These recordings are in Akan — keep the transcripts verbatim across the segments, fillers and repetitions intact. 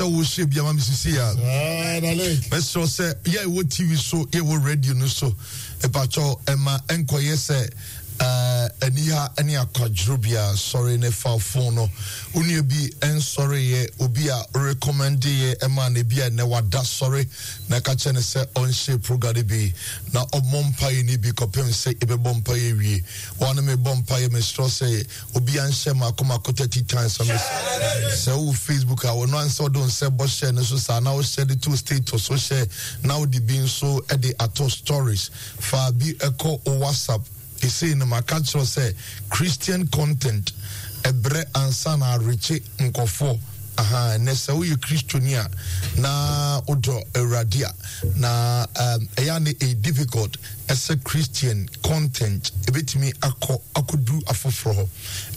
Sɛ wohyɛ bi ama me sisi a, mɛsrɛ sɛ yɛ ɛwɔ T V so, yɛ ɛwɔ radio no so, ɛpakyɛw, ɛma ɛnkɔyɛ sɛ aniha ne akwadworɔ bia. Sɔre ne fa phone no, wo nua bi ɛnsɔreyɛ, obi a recommend yɛ ɛma no bi a ɛnɛ wada, sɔre na ka kyerɛ no sɛ ɔnhyɛ program no bi na ɔmmɔ mpaeɛ no bi kɔpem sɛ ɛbɛbɔ mpaeɛ wie. Wɔne mebɔ mpaeɛ. Mesrɛ sɛ obi anhyɛ mako mako thirty times. Sɛ wo Facebook a, wɔno ansɛ wode wo nsɛ bɔ hyɛ no so saa na wohyɛ de to status, wohyɛ na wode bi nso de ato stories, fa bi ɛkɔ wo WhatsApp. Ɛsei no maka kyerɛ sɛ Christian content ɛbrɛ ansa na arekye nkɔfoɔ. Aha, ɛnɛ sɛ woyɛ Kristoni a na wodɔ Awurade a, na ɛyɛ ne ɛyɛ difficult ɛsɛ Christian content ɛbɛtumi akɔ akɔduru afoforɔ hɔ,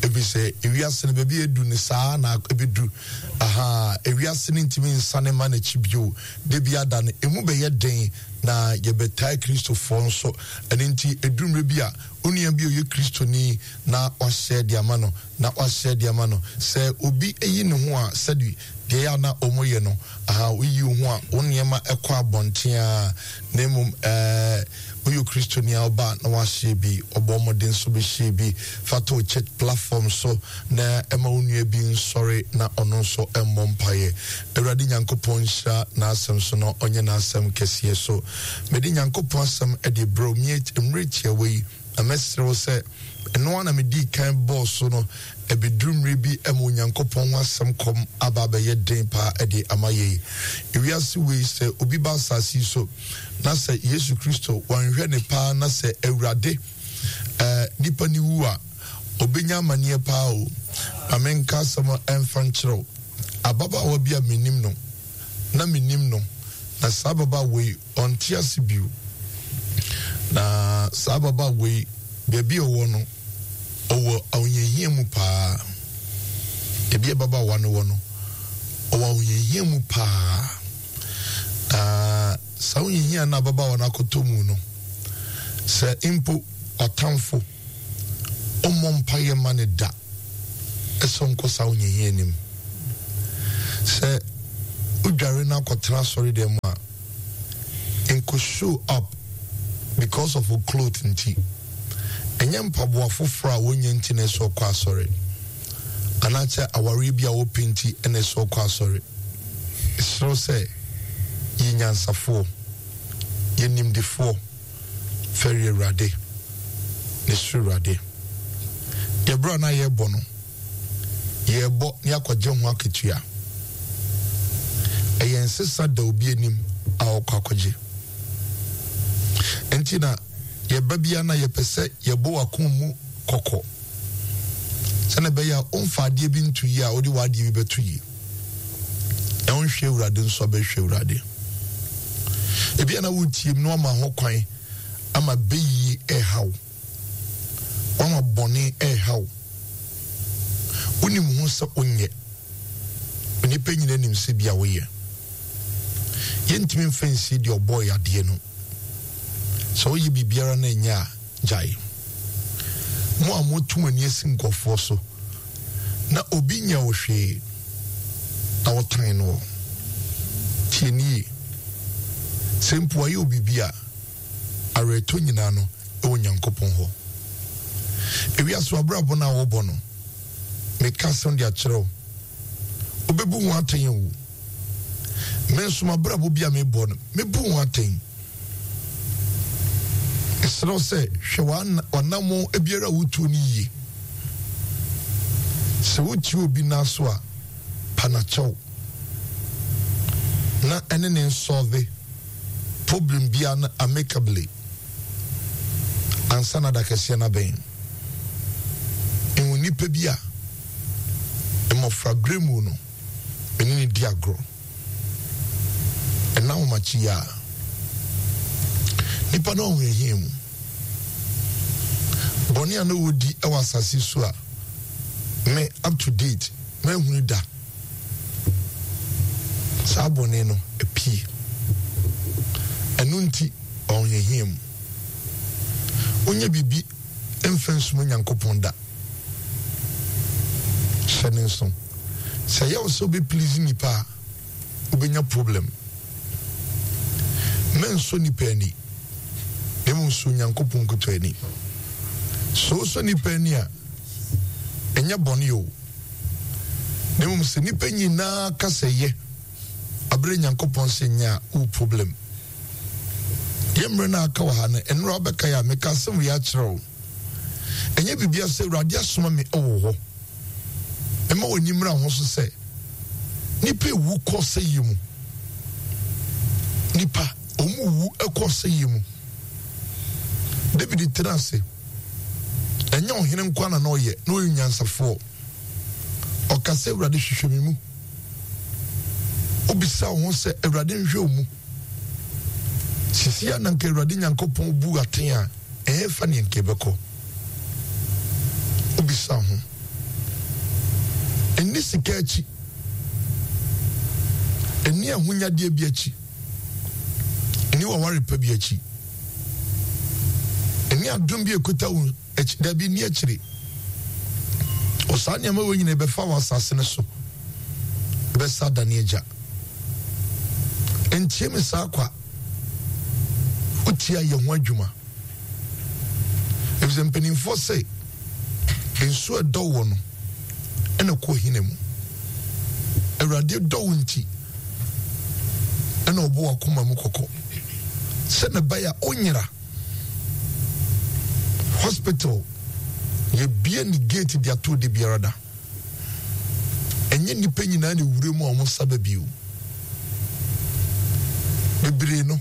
ɛfiri sɛ ewiase no baabi edu ne saa na ɛbɛdu. Aha, ewiase no ntumi nsane ma n'akyi bio. De bi ada no emu bɛyɛ den na yɛbɛtae Kristofoɔ nso. Ɛno nti ɛduru mmerɛ bi a, onua bi a ɔyɛ Kristoni na wahyɛ de ama no na wahyɛ de ama no. Sɛ obi yi ne ho a, sɛde deɛ yɛ ana ɔmo yɛ no, aha, woyi wo ho a, wo nneɛma ɛkɔ abɔnten a, na mmom ɛɛ woyɛ Kristoni a, ɔba na wahyɛ bi, ɔbɔ ɔmɔden nso bɛhyɛ bi fa to church platform so na ɛma wo nua bi nsɔre na ɔno nso ɛmmɔ mpaeɛ. Awurade Nyankopɔn nhyira n'asɛm so na ɔnyɛ n'asɛm kɛseɛ so. Mede Nyankopɔn asɛm ɛde brɛ mmerɛ tiawa yi, na mɛsrɛ wo sɛ ɛno a na medii kan bɔɔ so no, ɛbɛduru mmerɛ bi ma Onyankopɔn ho asɛm kɔm aba abɛyɛ den paa ɛde ama yɛi. Ewiase wei, sɛ obi ba asase yi so na sɛ Yesu Kristo wanhwɛ ne paa na sɛ Awurade ɛɛ nipa ne wu a, ɔbɛnya amanneɛ paa o. Ma menka asɛm ɛmfa nkyerɛw. Ababaawa bi a menim no na menim no, na saa ababaawa yi ɔnte ase bio, na saa ababaawa yi, baabi a ɔwɔ no, ɔwɔ ahohiahia mu paa. Ebi ababaawa no wɔ no, ɔwɔ ahohiahia mu paa, na saa ahohiahia no ababaawa no akɔtɔ mu no, sɛ mpo ɔtamfo ɔmmɔ mpaeɛ ma ne da ɛsɛ ɔnkɔ saa ahohiahia anim. Sɛ wodware no akɔtena asɔre dɛm mu a, nko show up because of a cloth nti. Ɛnyɛ mpaboa foforɔ a wɔnyɛ nti na ɛsɛ ɔkɔ asɔre, anaasɛ awareɛ bi a wɔpɛ nti na ɛsɛ ɔkɔ asɔre. Ɛserɛ sɛ yɛ nyansafoɔ, yɛ nimdefoɔ, fɛre Awurade ne soro Awurade. Yɛberɛ a na yɛrebɔ no, yɛrebɔ ne akɔgye ho akatua. Ɛyɛ nsesa da obi anim a ɔkɔ akɔgye. Nti na yɛba bia na yɛpɛ sɛ yɛbɔ w'akoma mu kɔkɔ sɛne ɛbɛyɛ a ɔmfa adeɛ bi nto yie a wode w'adeɛ bi bɛto yie na wonhwɛ Awurade nso abɛhwɛ Awurade. Ebia na wotie mu na wama ho kwan ama bɛyie ɛhaw, wama bɔne ɛhaw. Wonim ho sɛ wonyɛ onipa nyina nim sɛ bi a woyɛ. Yɛntumi mfa nsie deɛ ɔbɔɔ yɛ adeɛ no. Sɛ woyɛ biribiara na ɛnyɛ a, gyae. Mo a moto mo ani asi nkɔfoɔ so na obi nyɛ wo hwee na wotan no, tie nie. Sɛ mpo ayɛ wo biribi a, awerɛtɔ nyinaa no ɛwɔ Nyankopɔn hɔ. Ewiase abrabɔ no a wɔbɔ no, meka asɛm de akyerɛ wo, wobɛbu ho atɛn o. Me nso mabrabɔ bi a mebɔ no, mebu ho atɛn. Ɛserɛ sɛ hwɛ w'anammɔn biara a wotuo no yie. Sɛ wotie obi nan so a, pa n'akyɛw na ɛne ne nsolve problem biara no amicably ansa na da kɛseɛ no abɛn. Ɛwɔ nipa bi a mmɔfra berɛ mu no mene ne di agorɔ, ɛna ahomakye yi a nipa no ahohiahia mu bɔne a na wɔdi wɔ asase so a, me up to date mahunu da saa bɔne no apue. Ɛno nti ɔhohiahia mu wonyɛ biribi mfa nsuma Nyankopɔn da. Hyɛ ne nso sɛ ɛyɛ wo sɛ wobɛplease nipa a, Wobɛnya problem. Mɛnsɔ nipa ani, na mmom sɔ Onyankopɔn nkutoo ani. Sɛ wosɔ nipa ani a, ɛnyɛ bɔne o. Na mmom sɛ nipa nyinaa ka sɛ yɛ, abere Nyankopɔn sɛ nyɛ a, wowɔ problem. Yɛ mmerɛ no a aka wɔ ha no, nnora wobɛkae a, meka asɛm wei akyerɛ wo. Ɛnyɛ biribiara sɛ Awurade asoma me wɔ hɔ. Mma w'ani mmra ho so sɛ nipa ewu kɔ sɛyɛ mu. Nipa wɔn wu kɔ sɛyɛ mu. David tena ase. Ɛnyɛ ɔhene nko na na ɔyɛ, na ɔyɛ nyansafoɔ. Ɔka sɛ Awurade hwehwɛ me mu. Wobisa wo ho sɛ Awurade nhwɛ wo mu. Sisi a na nka Awurade Nyankopɔn bu aten a, ɛhefa ne nka ɛbɛkɔ? Wobisa ho. Ɛnni sika akyi. Ɛnni ahonyadeɛ bi akyi. Ɛnni waware pa bi akyi. Ɛnni adom bi ɛkuta wo akyi. Dabi, nni akyire. Wɔ saa nneɛma wɔ nyina ɛbɛfa wɔ asase no so. Ɛbɛsa adane agya. Ntie me saa kwa. Wotia yɛ ho adwuma. Efisɛ mpanimfoɔ sɛ nsuo ɛdɔ wɔ no ɛna kɔ hina mu. Awurade dɔ wo nti ɛna ɔbɔ wakoma mu kɔkɔ sɛ ne bɛyɛ a onyera. Hospital yɛbie ne gate de ato de biara da. Ɛnyɛ nnipa nyinaa na ewura mu a wɔn nsa ba bio. Bebree no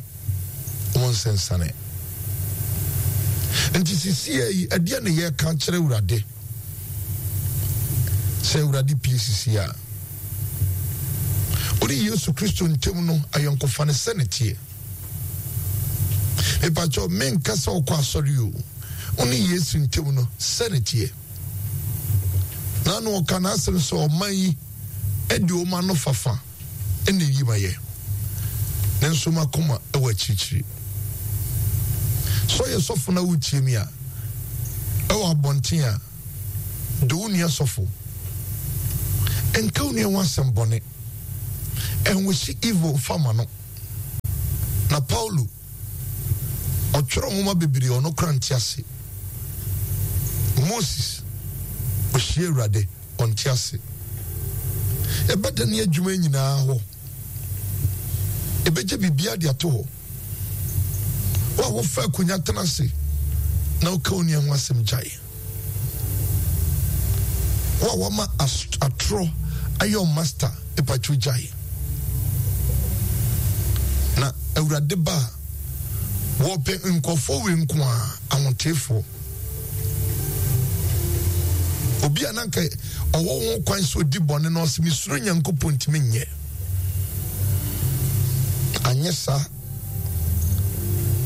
wɔn nsensane. Nti sisi yi ɛdeɛ na yɛka kyerɛ Awurade sɛ Awurade pie sisi a wode Yesu Kristo ntam no ayɔnkofa no sɛ ne teɛ. Mepakyɛw menka sɛ wokɔ asɔre o, wo ne Yesu ntam no sɛ ne teɛ. Na na ɔka n'asɛm sɛ ɔman yi de wɔn ano fafa na eyi ma yɛ, nanso wɔn akoma wɔ akyirikyiri. Sɛ ɔyɛ sɔfo na wotie mi a, ɛwɔ abɔnten a, dɔ wo nua sɔfo. Nka wo nua ho asɛm bɔne. Ɛnwosi evil fa ma no. Na Paulo ɔtwerɛ nwoma bebree ɔno kora nte ase. Moses ɔhyia Awurade ɔnte ase. Ɛbɛda ne adwuma nyinaa hɔ. Ɛbɛgye biribiara de ato hɔ. Wo a wofa akonnwa tena ase na woka wo nua ho asɛm gyae. Wo a wama atorɔ ayɛ wo master epatwo gyae. Na Awurade ba a wɔpɛ nkurɔfoɔ wei nko a ahoteefoɔ. Obi a na nka ɔwɔ ho kwan sɛ ɔdi bɔne no ɔsɛ mesuro Nyankopɔn ntumi nyɛ. Anyɛ saa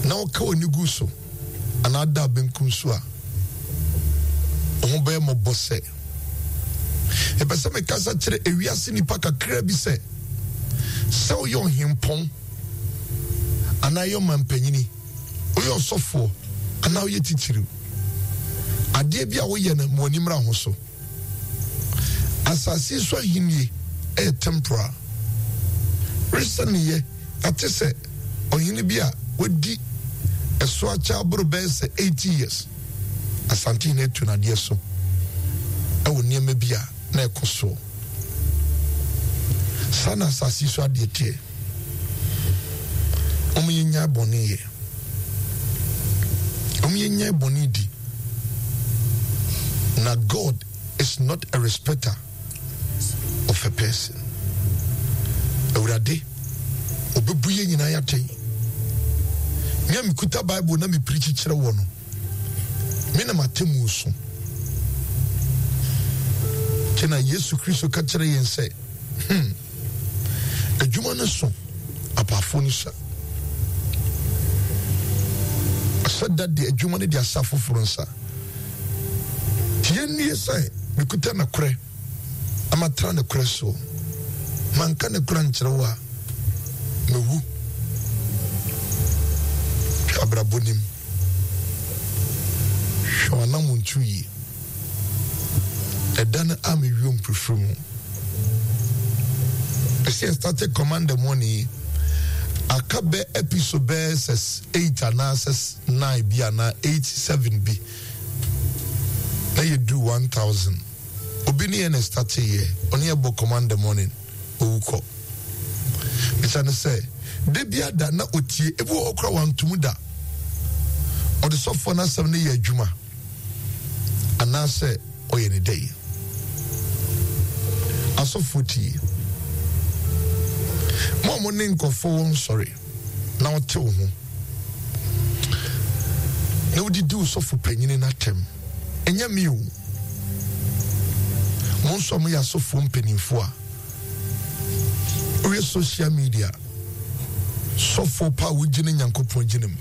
na ɔka w'ani gu so anaa da benkum so a, wo ho bɛyɛ mmɔbɔ sɛ. Ɛpɛ sɛ mekasa kyerɛ ewiase nipa kakra bi sɛ, sɛ woyɛ ɔhempɔn anaa yɛ ɔmampanyini, woyɛ ɔsɔfoɔ anaa woyɛ titiriw, adeɛ bi a woyɛ no ma w'ani mmra ho so. Asase so ahenni yɛ temporal. Recently yɛate sɛ ɔhene bi a wadi ɛso akyɛ aboro bɛyɛ sɛ eighty years, Asantehene atu no adeɛ so ɛwɔ nneɛma bi a na ɛkɔ soɔ. Saa na asase so adeɛ teɛ. Wɔn yɛ nyae bɔne yɛ. Wɔn yɛ nyae bɔne di. Na God is not a respecter of a person. Awurade, obebu yɛn nyinaa atɛn. Me a mekuta Bible na mepirikyi kyerɛ wɔ no, me na m'atemmuo so. Kyɛ na Yesu Kristo ka kyerɛ yɛn sɛ, hmm, adwuma no so, apaafo no sua. Ɔhyɛ da de adwuma no de ahyɛ afoforo nsa. Nti yɛnnie sɛ mekuta nokorɛ na matra nokorɛ soɔ. Manka nokorɛ ankyerɛ wo a, mewu. Hwɛ abrabɔ nim. Hwɛ w'anamontu yie. Ɛda no a mewie mprefiri mu. Ɛsɛ yɛ start Command the Morning yi, aka bɛ episode bɛyɛ sɛ eight anaasɛ nine bi anaa eight seven bi na yɛduru one thousand. Obi ne yɛ na start yɛ, ɔne yɛ bɔ Command the Morning, owu kɔ. Bisa ne sɛ da bi ada na otie, ebi wɔ hɔ koraa wantum da. Ɔde sɔfoɔ n'asɛm no yɛ adwuma anaasɛ ɔyɛ ne dɛ. Asɔfoɔ tie. Mo a mo ne nkɔfoɔ wɔ nsɔre na ɔte wo ho na wodidi wo sɔfo panyini n'atɛm, ɛnyɛ me o. Mo nso a moyɛ asɔfoɔ mpanimfoɔ a woyɛ social media sɔfoɔ pa a wogyina Nyankopɔn gyina mu.